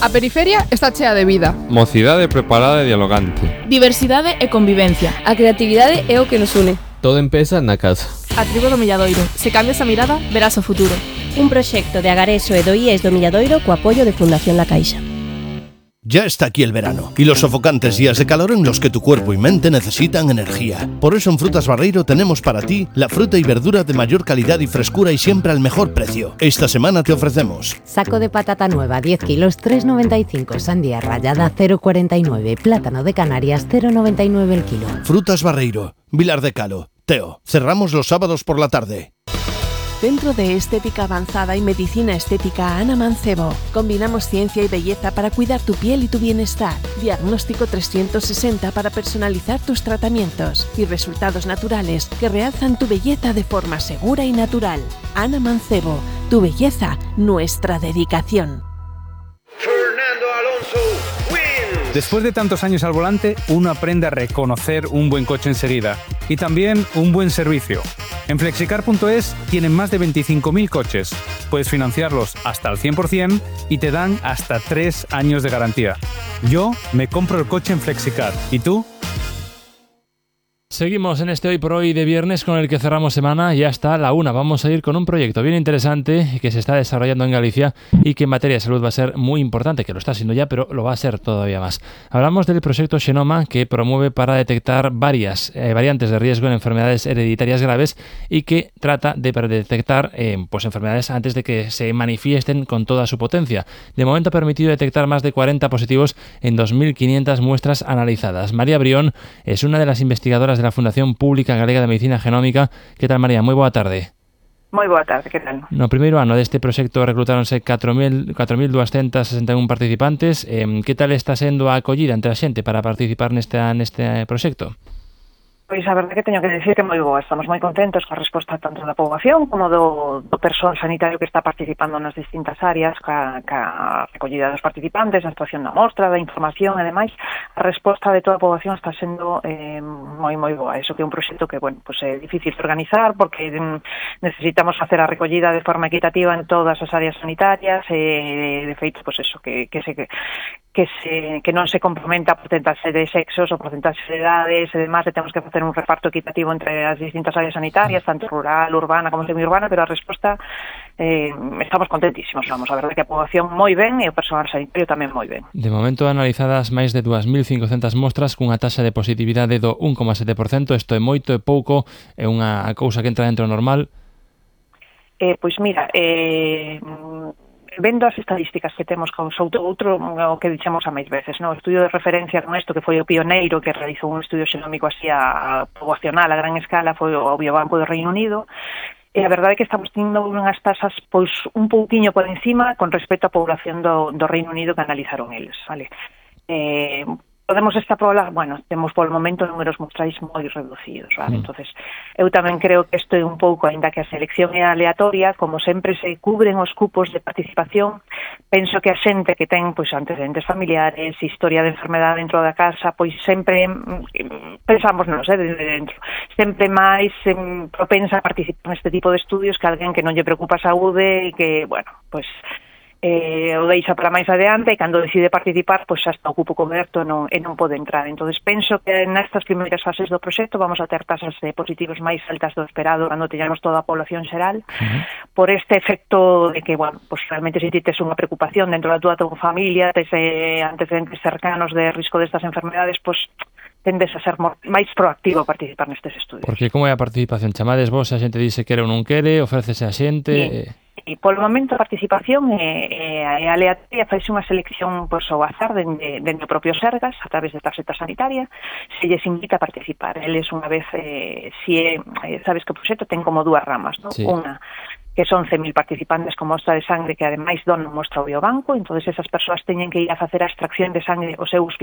A periferia está chea de vida. Mocidade preparada e dialogante. Diversidade e convivencia. A creatividade é o que nos une. Todo empeza na casa. A tribo do Milladoiro. Se cambias a mirada, verás o futuro. Un proxecto de Agareso e do IES do Milladoiro co apoio de Fundación La Caixa. Ya está aquí el verano y los sofocantes días de calor en los que tu cuerpo y mente necesitan energía. Por eso en Frutas Barreiro tenemos para ti la fruta y verdura de mayor calidad y frescura y siempre al mejor precio. Esta semana te ofrecemos saco de patata nueva 10 kilos 3,95, sandía rallada 0,49, plátano de Canarias 0,99 el kilo. Frutas Barreiro, Vilar de Calo, Teo. Cerramos los sábados por la tarde. Centro de Estética Avanzada y Medicina Estética Ana Mancebo. Combinamos ciencia y belleza para cuidar tu piel y tu bienestar. Diagnóstico 360 para personalizar tus tratamientos y resultados naturales que realzan tu belleza de forma segura y natural. Ana Mancebo, tu belleza, nuestra dedicación. Fernando Alonso. Después de tantos años al volante, uno aprende a reconocer un buen coche enseguida y también un buen servicio. En Flexicar.es tienen más de 25.000 coches. Puedes financiarlos hasta al 100% y te dan hasta 3 años de garantía. Yo me compro el coche en Flexicar. ¿Y tú? Seguimos en este Hoy por Hoy de viernes con el que cerramos semana y hasta la 1. Vamos a ir con un proyecto bien interesante que se está desarrollando en Galicia y que en materia de salud va a ser muy importante, que lo está siendo ya, pero lo va a ser todavía más. Hablamos del proyecto Xenoma, que promueve para detectar varias variantes de riesgo en enfermedades hereditarias graves y que trata de detectar enfermedades antes de que se manifiesten con toda su potencia. De momento ha permitido detectar más de 40 positivos en 2.500 muestras analizadas. María Brión es una de las investigadoras de la Fundación Pública Galega de Medicina Genómica. Que tal, María? Moi boa tarde. Moi boa tarde, que tal? No primeiro ano deste proxecto reclutáronse 4.261 participantes. Que tal está sendo a acollida entre a xente para participar neste proxecto? Pois a verdade que teño que decir que moi boa. Estamos moi contentos coa resposta tanto da poboación como do persoal sanitario que está participando nas distintas áreas, ca recollida dos participantes, a actuación da mostra, da información e demais. A resposta de toda a poboación está sendo moi boa. Eso que é un proxecto que, é difícil de organizar porque necesitamos facer a recollida de forma equitativa en todas as áreas sanitarias e, de feito, que non se complementa a porcentaxe de sexos ou porcentaxe de edades e demais, e temos que facer un reparto equitativo entre as distintas áreas sanitarias, tanto rural, urbana como semiurbana, pero a resposta estamos contentísimos, vamos, a verdade que a poboación moi ben e o personal sanitario tamén moi ben. De momento analizadas máis de 2.500 mostras cunha taxa de positividade do 1,7%, isto é moito, é pouco, é unha cousa que entra dentro normal? Pois mira, vendo as estadísticas que temos con outro o que dixemos a máis veces, o estudio de referencia con isto, que foi o pioneiro que realizou un estudio xenómico así a poboacional a gran escala, foi o Biobanco do Reino Unido, e a verdade é que estamos tendo unhas tasas pois un pouquiño por encima con respecto á población do Reino Unido que analizaron eles, vale? Podemos extrapolar, temos polo momento números mostrais moi reducidos, vale? Entonces, eu tamén creo que isto é un pouco, aínda que a selección é aleatoria, como sempre se cubren os cupos de participación, penso que a xente que ten antecedentes familiares, historia de enfermedade dentro da casa, pois sempre pensamos desde dentro, sempre máis propensa a participar neste tipo de estudios que alguén que non lle preocupa a saúde e que, o deixa para máis adiante e cando decide participar, xa está o cupo coberto e non pode entrar. Entonces penso que nestas primeiras fases do proxecto vamos a ter tasas de positivos máis altas do esperado cando teñamos toda a población xeral, por este efecto de que, realmente se tes unha preocupación dentro da tua familia, tes antecedentes cercanos de risco destas enfermedades, tendes a ser máis proactivo a participar nestes estudios. Porque como é a participación? Chamades vos, a xente dice quere ou non quere, ofrécese a xente... E polo momento a participación é aleatoria, faise unha selección ao azar dende o propio Sergas a través de tarxeta sanitaria, se lles invita a participar. Eles unha vez, sabes que o proxecto ten como dúas ramas, Sí. Unha que son 11.000 participantes con mostra de sangre que ademais donan mostra ao biobanco, entonces esas persoas teñen que ir a facer a extracción de sangre ao seu hospital